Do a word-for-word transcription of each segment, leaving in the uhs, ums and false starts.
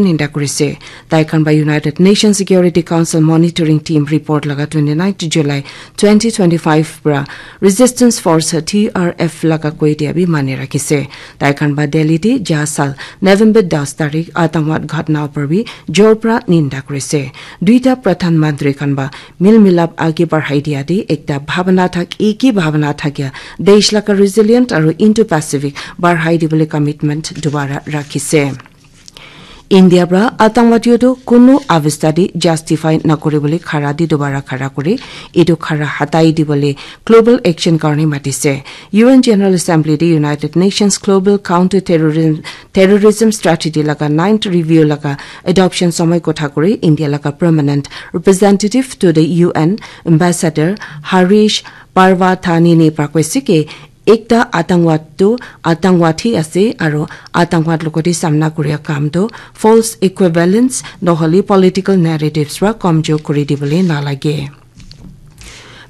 ninda kurise. Tai khan ba United Nations Security Council Monitoring Team report laga twenty-ninth July twenty twenty-five pra Resistance Force T R F laga koi dia bi mani rakise. Tai khan ba Delhi te ja sal November das tarik Atangwad ghatna upar bi jor pra ninda kurise. Duita Pradhan Mantri khan ba mil milap age barhai dia te ekta bhabana thak, eki bhabana thakya desh laga resilient aru Indo-Pacific barhai dibole commitment dubara rakhise. India pra atangwadi tu kunu avestha te justify nakuri bole khara di dubara khara kuri etu khara hatai dibole global action karne matise. U N General Assembly te United Nations Global Counter Terrorism, Terrorism Strategy laga ninth review laga adoption samay kotha kuri India laga permanent representative to the U N ambassador Harish Parvathanini pra koise ki ekta atangwad tu atangwad hi ase aru atangwad logote samna kuria kam tu false equivalence nohole political narratives pra kamjor kuri dibole nalage.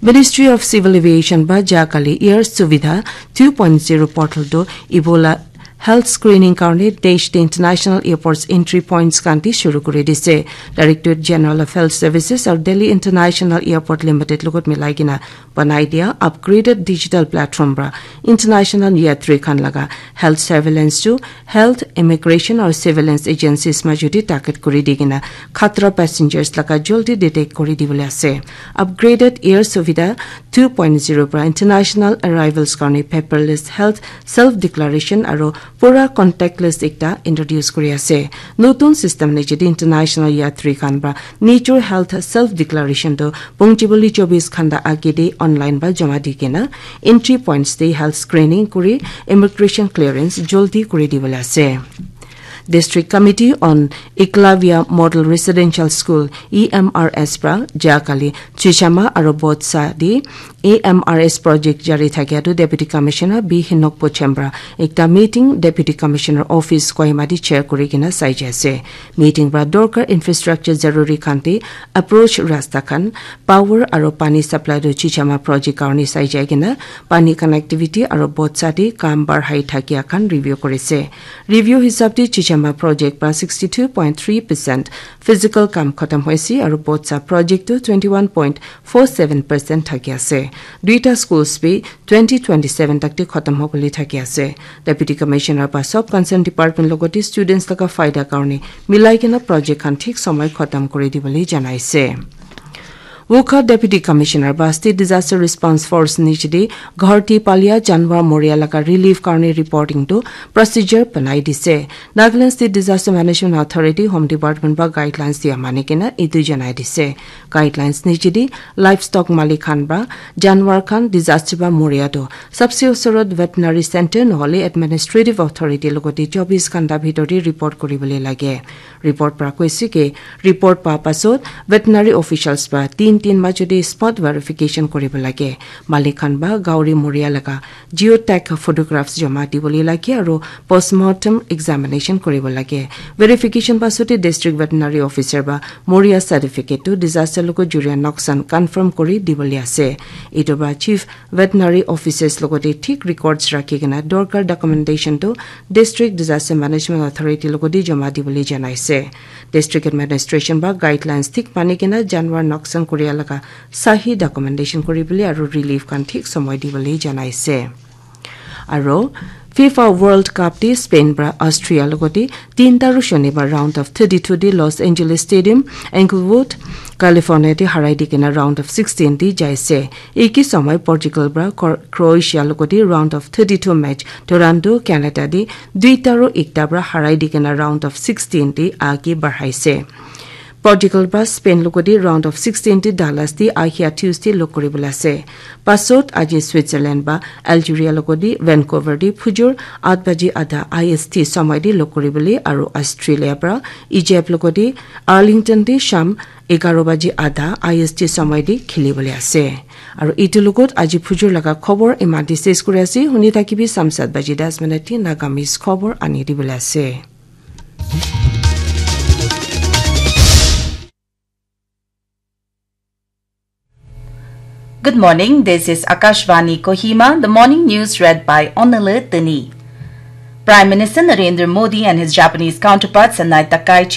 Ministry of Civil Aviation ba ja kali Air Suvidha two point zero portal tu Ebola health screening karne desh te international airports entry points khan te shuru kuri dise. Directorate General of Health Services aru Delhi International Airport Limited logot milai kena banai dia upgraded digital platform pra international yatri khan laga health surveillance tu health, immigration aru surveillance agencies majo te target kuri di kena khatra passengers laga jaldi detect kuri dibole ase. Upgraded Air Suvidha two point zero pra international arrivals karne paperless health self declaration aru pura contactless ekta introduce kuri ase. Notun system niche te international yatri khan pra nature health self declaration tu pongchiboli chobis ghanta age te online ba jama di kena entry points te health screening kuri immigration clearance jaldi kuri dibole ase. District Committee on Eklavya Model Residential School, E M R S pra ja kali Chichama aru Botsa di E M R S project jari thakia tu Deputy Commissioner B Hinokpo Chembra ekta meeting Deputy Commissioner Office Kohima di chair kuri kena sai jai ase. Meeting pra dorkar infrastructure zaruri khan te approach rasta khan, power aru pani supply tu Chichama project karne sai jai kena pani connectivity aru Botsa te kam barhai thakia khan review kuri se. Review hisab te Chichama project pra sixty two point three percent physical kam khatam hoise aru Botsa project tu twenty one point four seven percent thaki ase. Duita schools bi twenty twenty seven tak te khatam hobole thaki ase. Deputy Commissioner ba sub concerned department logote students laga faida karne milai kena project khan thik samay khatam kuri dibole janaise. Wokha Deputy Commissioner ba State Disaster Response Force niche te ghar te palia janwar moria laga relief karne reporting tu procedure banai dise. Nagaland State Disaster Management Authority Home Department ba guidelines dia mani kena etu janai dise. Guidelines niche te livestock malik khan ba janwar khan disaster ba moria tu sabse usorot veterinary center nohole administrative authority logote chobis ghanta bhitor te report kuri bole lage. Report pra koise ki report pa pasot veterinary officials pra tin tin majo te spot verification kuri bo lage. Malik khan ba gauri moria laga geotag photographs jama di bole lage aru postmortem examination kuri bo lage. Verification pasot te district veterinary officer ba moria certificate tu disaster logo juria noksan confirm kuri di bole ase. Etu pra chief veterinary officers logote thik records rakhi kena dorkar documentation tu District Disaster Management Authority logote jama di bole janaise. District administration ba guidelines thik mani kena janwar noksan kuria laga sahi documentation kuri bole aru relief khan thik samay di bole janaise. Aru FIFA World Cup te Spain pra Austria logote tinta ru shonibar round of thirty two te Los Angeles Stadium, Inglewood, California te harai di kena round of sixteen te jaise. Eki samay Portugal pra Cro-, Croatia logote round of thirty two match Toronto, Canada te duita ru ekta pra harai di kena round of sixteen te age barhaise. Portugal pra Spain logote round of sixteen te Dallas te ahia Tuesday log kuri bole ase. Pasot aji Switzerland ba Algeria logote Vancouver te phujur at baji adha I S T samay te log kuri bole aru Australia pra Egypt logote Arlington te sham egaro baji adha I S T samay te kheli bole ase. Aru etu logot aji phujur laga khobor eman te ses kuri ase. Huni thakibi sam sat baji das minute te Nagamese khobor ani di bole ase. Good morning. This is Akashvani Kohima. The morning news read by Onele Teni. Prime Minister Narendra Modi and his Japanese counterpart Sanae Takaichi